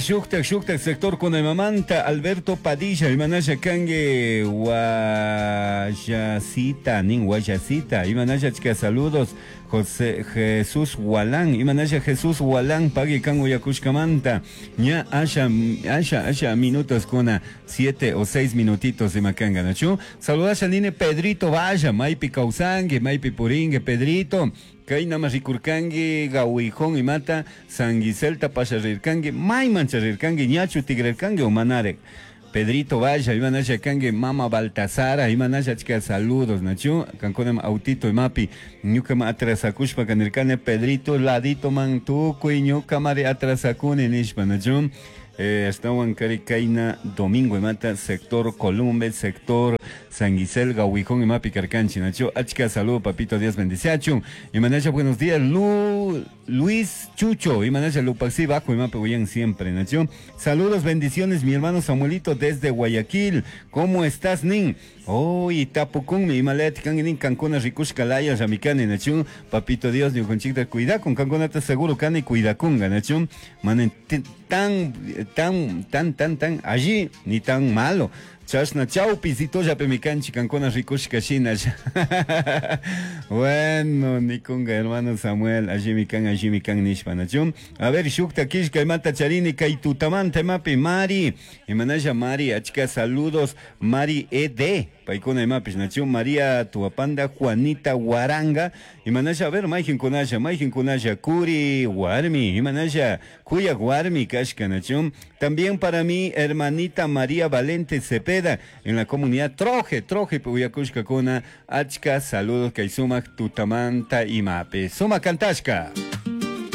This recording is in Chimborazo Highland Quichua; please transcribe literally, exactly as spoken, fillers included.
shuktak shuktak sector kunamamanta Alberto Padilla imanasha kanki Guayacita nin Guayacita imanasha achka saludos José Jesús Walán imanasha Jesús Walán pagui kan uyakushkamanta ña asha asha asha minutos kuna siete o seis minutitos imakanga nachu saludasha nini Pedrito vaya maypi kawsanki maypi purinki Pedrito kaynama rikurkanki Gawijón imata San Giselta pasharirkanki mayman charirkanki ñachu tigrarkanki o manarek Pedrito Vaya, imanasha kanki Mama Baltasara, imanasha achka saludos, nachu, kankunam autito imapi, ñukama atrasakushpa kanirkani Pedrito ladito man tukuy ñukamari atrasakuni nishpa, nachu, eh, ashtawan kari kayna domingo imata sector Columbe, sector San Gisel, Gawijón imapi karkanchi, nachu, achka saludo papito, Dios bendiciachun, imanasha buenos días, Lu, Luis Chucho, imanasha Lupaxi bajo imapi uyan siempre, nachu, saludos, bendiciones, mi hermano Samuelito desde Guayaquil, ¿cómo estás, nin? Oh, y tapukunmi, imalet kanki nin kankuna rikushka laya ramikani, nachu, papito Dios, ñukanchikta cuidakun, kankunata seguro kani cuidakunga, nachu, manen tan, tan, tan, tan, tan, allí, ni tan malo. Chashna chawpisito llapimi kanchik kankuna rikushka shina. Bueno, nikunga hermano Samuel, allimi kan, allimi kan nishpa, nachu. A ver, shukta kishka imata charini kay tutamanta imapi Mari, imanasha Mari, achka saludos, Mari E D, paykuna imapish, nachu, María Tuapanda, Juanita Huaranga, imanasha, a ver, mayqinkunasha, mayqinkunasha, Kuri Warmi, imanasha, Kuyak Warmi kashka, nachu. También para mi hermanita María Valente Cepeda, en la comunidad Troje, Troje, uyakushka kuna, achka, saludos, kay sumak tutamanta imapi. Suma kantashka.